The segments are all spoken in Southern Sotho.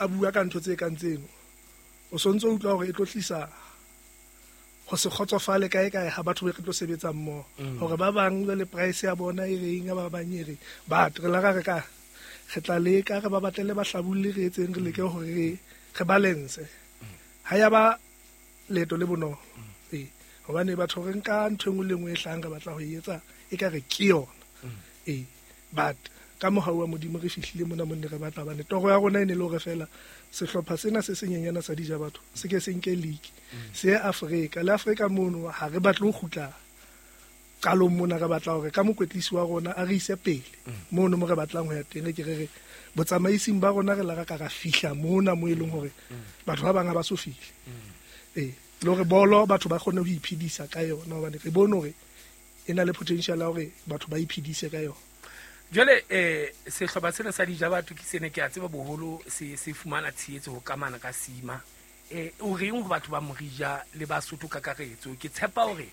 a bua ka ntho tse kang tseno, o sontso o utlwa hore e tlo tlisa ho se kgotsofale kae kae ha batho be re tlo sebetsa mmoho, hore ba bang jwale price ya bona e reng, ya ba bang e reng. But re la ra re ka re tla leka re ba batlele bahlabolli, re etseng, re leke hore re balance. Ha ya ba leeto le bonolo. Ee, hobane batho re nka ntho e nngwe le nngwe e hlahang re batla ho e etsa e ka re ke yona. Ee, but ka mohau wa Modimo re fihlile mona mo ne re batla, hobane toro ya rona e ne le hore feela sehlopha sena se senyenyana sa Dija Batho se ke se nke league, se ye Afrika. Le Afrika mono ha re batle ho kgutla qalong mona, re batla hore ka mokwetlisi wa rona a re ise pele mono mo re batlang ho ya teng. Re ke re re botsamaising ba rona re la ra ka ra fihla mona mo e leng hore batho ba bang ha ba so fihle. Ee, le hore bolo batho ba kgone ho iphedisa ka yona, hobane re bone hore e na le potential ya hore batho ba iphedise ka yona. Jwale sehlopha sena sa Dija Batho ke sene ke a tseba boholo se se fumana tshehetso ho kamana ka Sima. O reng ho batho ba Morija le Basotho kakaretso? Ke tshepa hore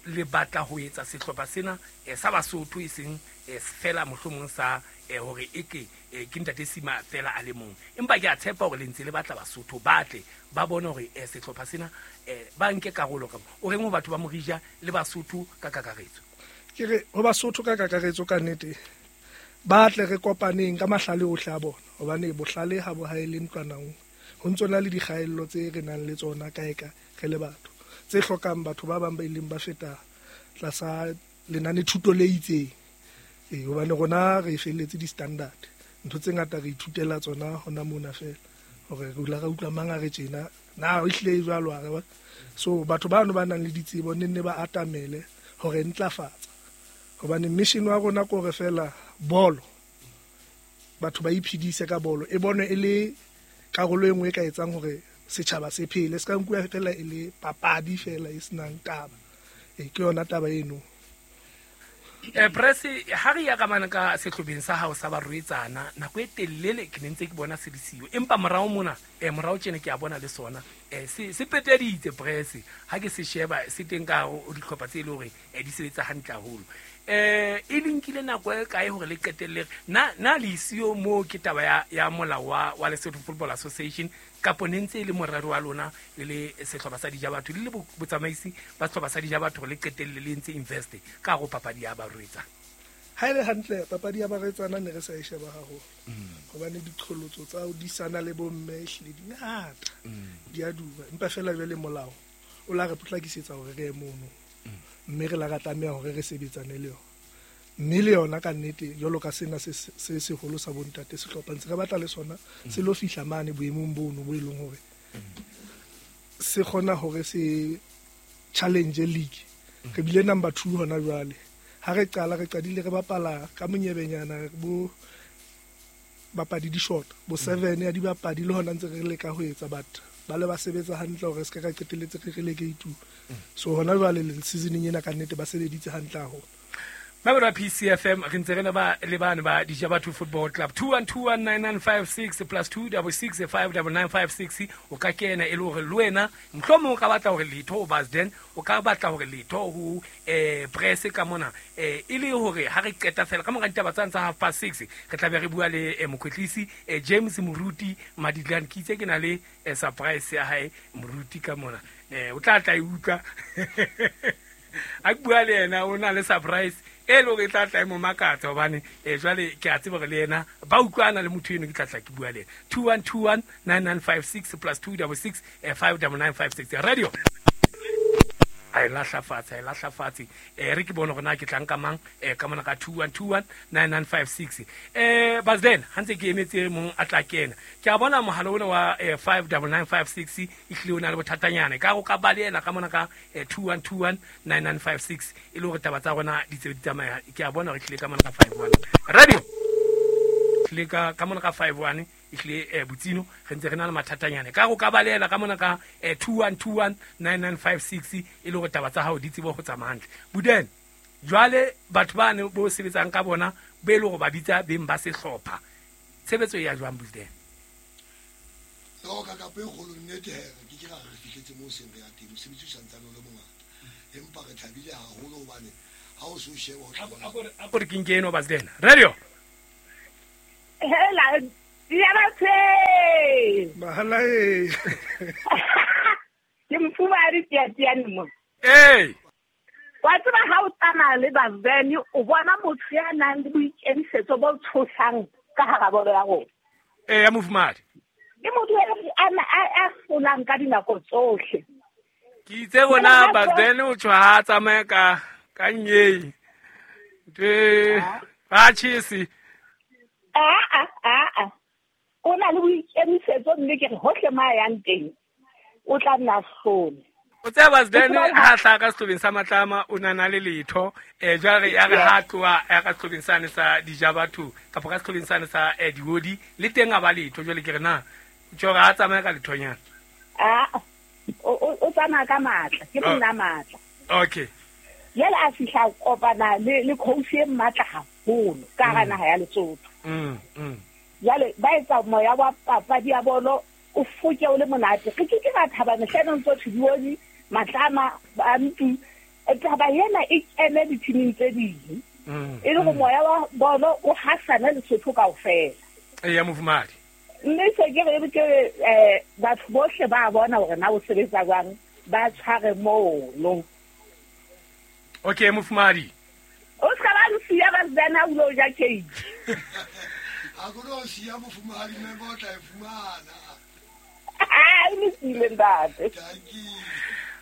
le batla ho etsa sehlopha sena sa Basotho, e seng fela mohlomong sa hore e ke ke ntate Sima fela a le mong, empa ke a tshepa hore le ntse le batla Basotho ba tle ba bone hore sehlopha sena ba nke karolo ka. O reng ho batho ba Morija le Basotho ka kakaretso? Ke re ho Basotho ka kakaretso, ka nnete ba tle re kopaneng ka mahlale ohle a bona, hobane bohlale ha bo haele ntlwanang. Ho ntso na le dikgaello tse re nang le tsona kae kae re le batho, tse hlokang batho ba bang ba ileng ba feta tlasa lenane thuto le itseng. Ee, hobane rona re felletse di-standard, ntho tse ngata re ithutela tsona hona mona feela, hore re dula re utlwa mang a re tjena, na e hlile e jwalo a re ba. So batho bano ba nang le ditsebo ne nne ba atamele hore ntlafatsa, hobane mission wa rona ke hore feela bolo batho ba iphedise ka bolo, e bonwe e le karolo e nngwe e ka etsang hore setjhaba se phele, se ka nkuwa feela e le papadi feela e senang taba. Ee, ke yona taba eno. Press ha re ya ka mane ka sehlopheng sa hao sa barwetsana, nako e telele ke ne ntse ke bona se le siyo, empa morao mona morao tjena ke a bona le sona se peteditse. Press ha ke se sheba se teng ka hare ho dihlopha tse e le hore di sebetsa hantle haholo. E le nkile nako e kae hore le qetelle na le isiyo moo? Ke taba ya molao wa Lesotho Football Association, kapo ne ntse e le morero wa lona le le sehlopha sa Dija Batho, le le botsamaisi ba sehlopha sa Dija Batho, hore le qetelle le entse invest ka hare ho papadi ya barwetsana? Ha e le hantle, papadi ya barwetsana ne re sa e sheba haholo, hobane diqholotso tsa ho disana le bomme ehlile di ngata, di a duma. Empa feela jwale molao o la re potlakisetsa hore re ye mono, mme re la ra tlameha hore re sebetsane le yona. Mme le yona ka nnete, jwalo ka sena se se seholo sa bontate sehlopha, ntse re batla le sona se lo fihla mane boemong bono bo e leng hore se kgona hore se challenge league. Re bile number 2 hona jwale. Ha re qala, re qadile re bapala ka monyebenyana, bo bapadi di short bo 7 ya dibapadi, le hona ntse re leka ho etsa, but ba le ba sebetsa hantle hore se ka ka qetelletse re relegate. So hona jwale le seasoneng ena ka nnete ba sebeditse hantle haholo. Mabelo a PCFM, re ntse re ne ba le bane ba Dija Batho Football Club. 21219956 plus 266 59956. O ka kena e le hore le wena mohlomong o ka batla hore letho ho Basden, o ka batla hore letho ho press ka mona, e le hore ha re qeta fela ka mora ditaba tsane tsa 6:30, re tla be re bua le mokwetlisi James Moruti Madidlan. Ke itse ke na le surprise ya hae Moruti ka mona, o tla tla e utlwa a ke bua le yena. O na le surprise e le hore e tla tla e mo makatsa, hobane jwale ke a tseba hore le yena ba utlwana le motho eno. Ke tla tla ke bua le yena. 21219956 plus 266 59956. Radio a e lahla fatshe, a e lahla fatshe. Re ke bone hore na ke tla nka mang ka mona ka 21219956. Basden, ha ntse ke emetse mong a tla kena, ke a bona mohala ona wa 59956 ehlile o na le bothatanyana ka go ka ba le yena ka mona ka 21219956, e le hore taba tsa rona di tsebe di tsamaya. Ke a bona hore ehlile ka mona ka 51 radio, ehlile ka mona ka 51 ehlile botsino re ntse re na le mathatanyana ka go ka ba le yena ka mona ka 21219956, e le hore taba tsa hao di tsebe ho tsamaya hantle. Buden, jwale batho bane bo sebetsang ka bona, be e le hore ba bitsa beng ba sehlopha, tshebetso e ya jwang, Buden? No, ka kapo e kgolo, nnete he, re ke ke ra re fihletse moo seng re ya teng. Mosebetsi o santsane o le mongata, empa re thabile haholo hobane ha o se o sheba o tla bona. A ko re ke nke eno, Basden. Radio. Hela, ya batho. Ke mofumahadi Tiatiane mo. Ee. Wa tseba ha o tsamaya le Bazeni o bona motho ya nang le boikemisetso bo tshosang ka hara bolo ya rona. Ee, ya mofumahadi. Ke motho a hlolang ka dinako tsohle. Ke itse bona Bazeni o tjho ha tsamaya ka nyei. Ntwe ba tjhese. A. O na le boikemisetso mme ke re hohle ma yang teng o tla nna hlole. O tseba Bazeni ha tla ka sehlobeng sa Matlama o nana le letho jwale ya re ha tloha ya ka sehlobeng sane sa Dijabatho kapa ka sehlobeng sane sa Diodi le teng a ba letho jwale ke re na tjho ha tsamaya ka lethonyana. A o tsamaya ka matla ke monna matla. Okay. Jwale a fihla kopana le coach e matla haholo ka hara naha ya Lesotho. Jwale ba etsa moya wa papadi ya bolo o foke o le monate. Re ke ra thaba mehleng ntso Diodi Matlama ba ntsu taba ena e kene dithiming tse ding. E le go moya wa bolo o hasana Lesotho kaofela. Ee ya mofumahadi. Mme se ke re ke batho bohle ba bona hore na o sebetsa jwang ba tshware mono. Okay mofumahadi. O ska ba nsiya ba tsena o lo ja cake. A go no siya mofumahadi mme ba tla e fumana. Ah, le sile ntate. Thank you.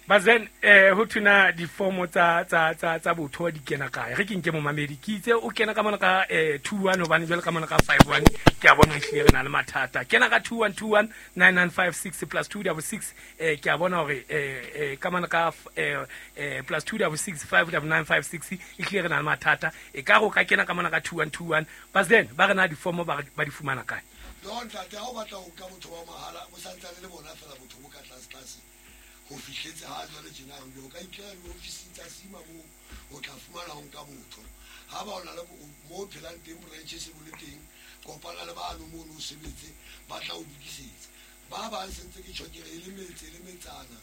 Bazen ho thuna difomo tsa botho di kena kae? Re ke nke momamedi ke itse o kena ka mona ka 21 hobane jwale ka mona ka 51 ke a bona ehlile re na le mathata. Kena ka 2121 9956 plus 266 ke a bona hore ka mona ka plus 266 59956 ehlile re na le mathata. E ka go ka kena ka mona ka 2121. Bazen ba re na difomo ba di fumana kae? No ntate ha o batla ho ka botho ba mahala bo santsane le bona fela botho bo ka tlase ho fihletse ha jwale tjena re o ka ikela diofising tsa Sima moo o tla fumana ho nka botho. Ha ba ona le mo phelang teng branch se bole teng kopana le bano mono o sebetse ba tla o lokisetsa. Ba bang sentse ke tjhokere e le metse le metsana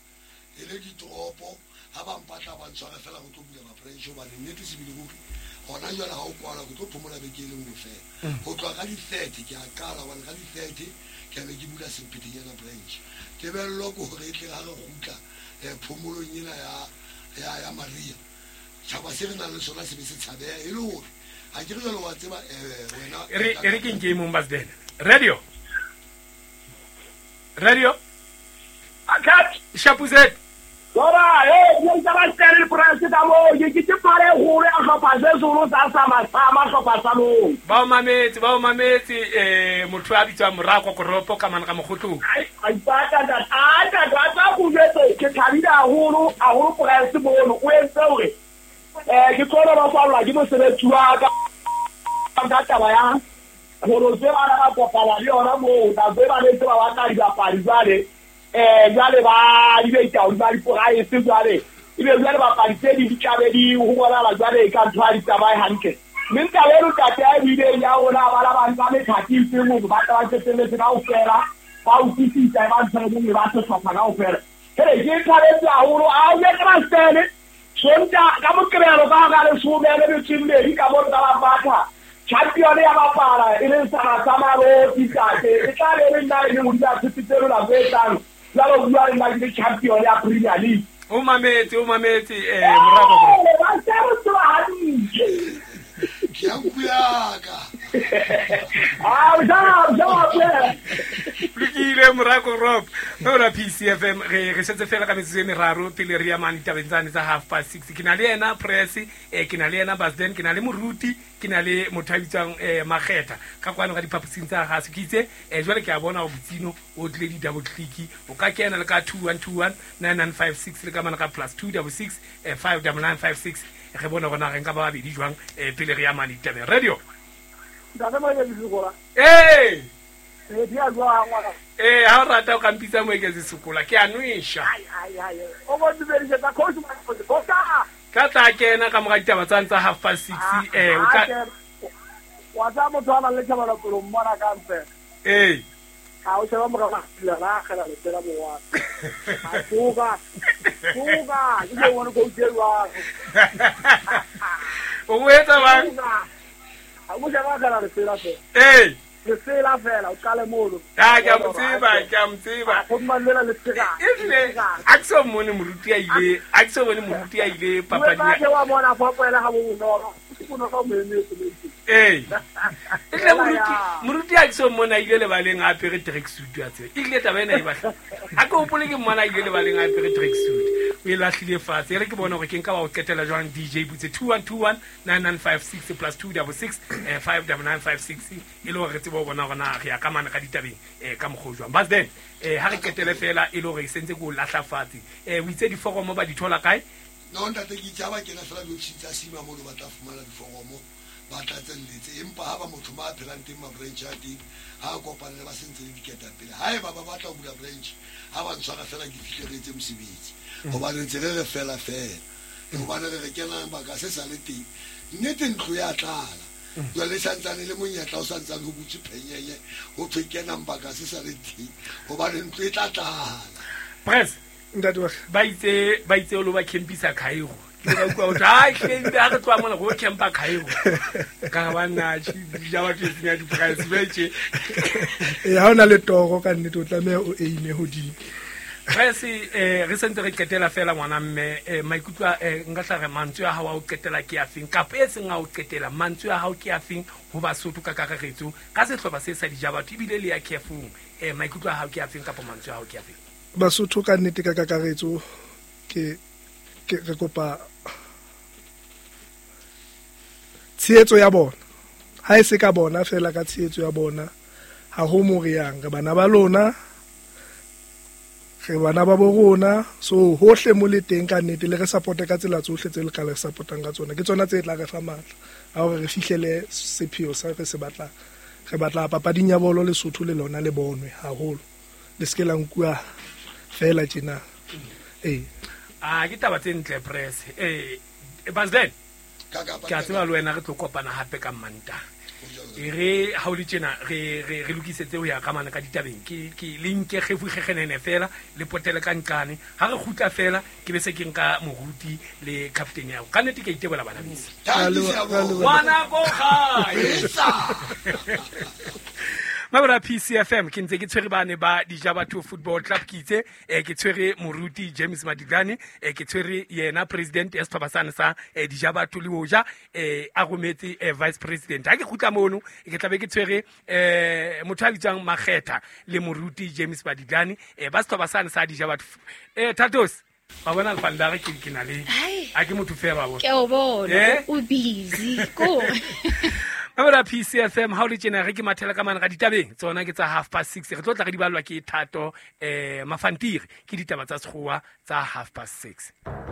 e le ditoropo ha ba mpatla ba ntshware fela go tlo bula ma-branch hobane nnete sebele ruri hona jwale ha o kwala go tlo phomola beke e le nngwe fela. Ho tloha ka di-30 ke a qala hobane ka di-30 ke a be ke bula Semphetenyana branch. Tebello ke hore e tle ha re kgutla phomolong ena ya Maria tjhaba se re nang le sona se be se tshabeha e le hore ha ke re jwale wa tseba wena e re ke nke e mong Bazeni. Radio. Akat Shapuzet. Dora, ke tsa ba tsere price ka mo ke ke pare hore a hlopha se solo sa sama hlopha sa mo. Ba o mametse motho a bitswang Morako Koropo ka mana ka Mokgotlong. Ai ba ka ta ta tsa go jwetse ke thabile haholo haholo price mono o entse hore ke tsona ba kwalwa ke mosebetsi wa ka ka taba ya hore se ba ba kopana le yona moo ba ba le tse ba batla dibapadi jwale jwale ba di beita ba di price jwale ebe jwale bapadi tse di tlabe di ho bonala jwale ka ntho a di tsamaye hantle. Mme taba eno tate a buileng ya rona ba la ba nka methati itseng hore ba tla ba qetelletse kaofela ba utlwisisa ba ntho e nngwe ba sehlopha kaofela. Hele ke thabetse haholo a o ye ka Stene Sonta ka Moqebelo ka hara 12:20 ka mo ka ba batha champion ya bapala e leng sa Maroti tate e tla be le nna e le ho dula tshepitse lona go etsang jalo bua le nna ke champion ya Premier League. O mametse Morako Koropo. Ba se re tswa hantle. Ke a nkuya ka. A Lokile Morako Koropo. Ora PCFM re setse fela ka metsotso e meraro pele re ya mane ditabeng tsane tsa 6:30. Ke na le yena Press, ke na le yena Basden, ke na le Moruti, ke na le motho a bitswang Makgetha ka kwano ka diphaposing tsa gase. Ke itse jwale ke a bona ho botsino o tlile di double click o ka kena le ka 2121 9956 le ka mana ka plus 266 59956 re bona gona re nka ba babedi jwang pele re ya mane ditabeng. Radio. Ntate Moeketsi Sekola. Ee. Di a jwang ngwana? Ee, ha o rata o ka mpitsa Moeketsi Sekola ke a nwesha. Ai. O bo dumedisetsa coach Moeketsi. Ka tla kena ka mora ditaba tsane tsa 6:30 o ka wa tsa motho a nang le thabelo pelo mmona ka mpe. Ee. Ha o sheba mora la la kgela le tsela mowa. A tsoga. Tsoga, ke bona coach e jwang. O mo etsa bang? A mo sheba kgela le tsela fe. Ee. Lesela fela o qale mono. Ah, ke a mo tseba, ke a mo tseba. Go mmalela le tsega. Ehlile a ke so mmone moruti a ile, a ke so bone moruti a ile papading ya. Wa bona fa poela ga bo bonolo. Ke bonolo mo emetse le. Ee. Ehlile moruti a ke so mmone a ile lebaleng a apere tracksuit a tseba. Ehlile taba ena e batla. A ke hopole ke mmona a ile lebaleng a apere tracksuit. O e lahlile fatshe. E re ke bone hore ke nka wa o qetela jwang DJ Butse 2121 9956 plus 266 59956 e le hore re tsebe ho bona hore na re ya ka mane ka ditabeng ka mokgwa o jwang. But then ha re qetele fela e le hore e sentse ke o lahla fatshe. O itse diforomo ba di thola kae? No ntate, ke itse ha ba kena fela diofising tsa Sima mono ba tla fumana diforomo, ba tlatselletse. Empa ha ba motho ma phelang teng ma branch a teng, ha a kopane le ba sentse le diketapele. Haeba ba batla ho bula branch, ha ba ntshwara fela ke fihle re etse mosebetsi. Hobane ntse re re fela fela. Hobane re re kenang baka se sa le teng. Nnete ntlo ya tlala. Jwale santsane le monyetla o santsane ho butswe phenyenye, ho thwe kenang baka se sa le teng. Hobane ntlo e tla tlala. Press. Ntate wa ka. Ba itse o lo ba campisa Cairo. Ke ba utlwa ho thwe, ai, hle, ebile ha re tloha mona, re o campa Cairo. Ka re banna, tjhe, ja batho e senya di-price, jwale tje. Ee, ha o na le toro ka nnete, o tlameha o aime hodimo. Press, re sentse re qetela fela ngwana mme, maikutlo a, nka tla re mantswe a hao a ho qetela ke a feng, kapa e seng a ho qetela, mantswe a hao ke a feng ho Basotho ka kakaretso, ka sehlopha se sa Dijabatho, ebile le ya Kefong, maikutlo a hao ke a feng kapa mantswe a hao ke a feng? Basotho ka nnete ka kakaretso, ke re kopa tshehetso ya bona. Ha e se ka bona fela, ka tshehetso ya bona, ha ho mo re yang, re bana ba lona, re bana ba bo rona. So hohle mo le teng ka nnete, le re supporte ka tsela tsohle tse le ka le supportang ka tsona. Ke tsona tse tla re fa matla a hore re fihlele sepheo sa re se batlang. Re batla papading ya bolo Lesotho le lona le bonwe haholo, le se ke la nkuwa fela tjena. Ee. Ah, ke taba tse ntle Press. Basden, ke a tseba le wena re tlo kopana hape ka Mantaha. E re ha o le tjena re lokisetse ho ya ka mane ka ditabeng. Ke le nke kgefu kgekgenene fela, le potele ka nqane. Ha re kgutla fela, ke be se ke nka moruti le captain ya hao. Ka nnete ke a itebola bana beso. Ngwana ko gae. Mabra PCFM, ke ntse ke tshwere bane ba Dijabatho Football Club, ke itse, ke tshwere moruti James Madiglane, ke tshwere yena president ya sehlopha sane sa, Dijabatho le hoja, a rometse, vice president. Ha ke kgutla mono, ke tla be ke tshwere, motho a bitswang Makgetha le moruti James Madiglane, ba sehlopha sane sa Dijabatho. Thatos, ba bona lefandare ke na le, a ke motho fela ba bona. Ke o bona, o busy, ko. Mabra PCFM, ha o le tjena re ke mathela ka mane ga ditabeng, tsona ke tsa 6:30, re tlo tla re di ballwa ke Thato, Mafantiri, ke ditaba tsa Sekgowa tsa 6:30.